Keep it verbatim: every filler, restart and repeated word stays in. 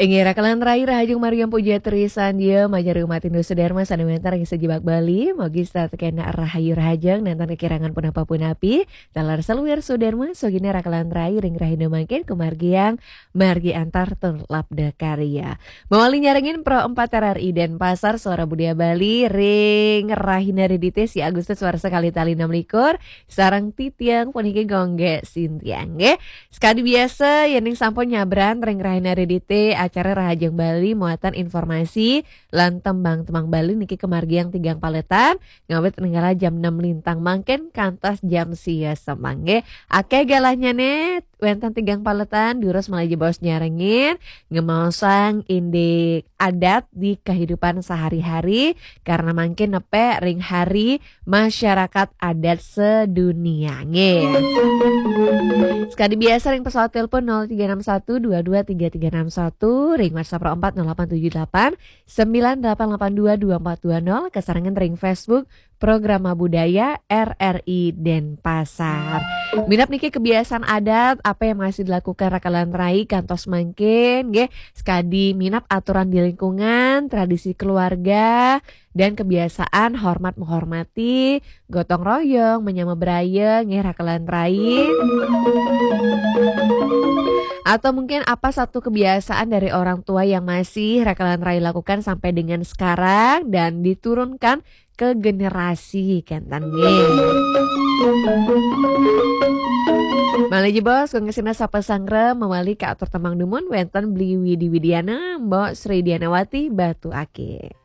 Inggih, rakelan rai rahajeng margi puja trisan, ya, majeng umat Hindu sedherma sane wenten ring sajebag Bali, mugi setata kena rahayu rahajeng, nenten kekirangan punapa-punapi, taler saluir sedherma, sugihne rakelan rai ring rahina mangkin, kumargiang, margi antar tur labda karya. Mawali nyarengin Pro empat R R I Denpasar, Suara Budaya Bali, ring rahina Redite, si Agustus warsa kalih tali enam likur, sareng titiang puniki Gongge Sintiang, nggih. Sekadi biasa, yening sampun nyabran ring rahina Redite, acara Rahajeng Bali muatan informasi lan tembang-tembang Bali niki kemargiang tigang paletan, ngawit nenggala jam enam lintang mangkin kantos jam sia semeng, nggih. Akeh galahnyane, wenten tigang paletan, durus malih jebos nyarengin, ngemaosang indik adat di kehidupan sehari-hari, karena mangkin nepe ring hari masyarakat adat sedunia, nggih. Sekadi biasa ring pesawat telepon nol tiga enam satu dua dua tiga tiga enam satu, ring WhatsApp Pro empat nol delapan tujuh delapan sembilan delapan delapan dua dua empat dua nol, kasarengan ring Facebook Programa Budaya R R I Denpasar. Minab niki kebiasaan adat apa yang masih dilakukan rakelan rai kantos mangkin, nggih, sekadi minab aturan di lingkungan, tradisi keluarga, dan kebiasaan hormat menghormati, gotong royong, menyama beraya, nggih, rakelan rai. Atau mungkin apa satu kebiasaan dari orang tua yang masih rakelan rai lakukan sampai dengan sekarang dan diturunkan ke generasi, kenten, nggih. Malih jebos, kangge sinah sapa sanggra mawali ka atur tembang dumun wenten Bli Widi Widiana, Mbok Sri Dianawati, Batu Ake.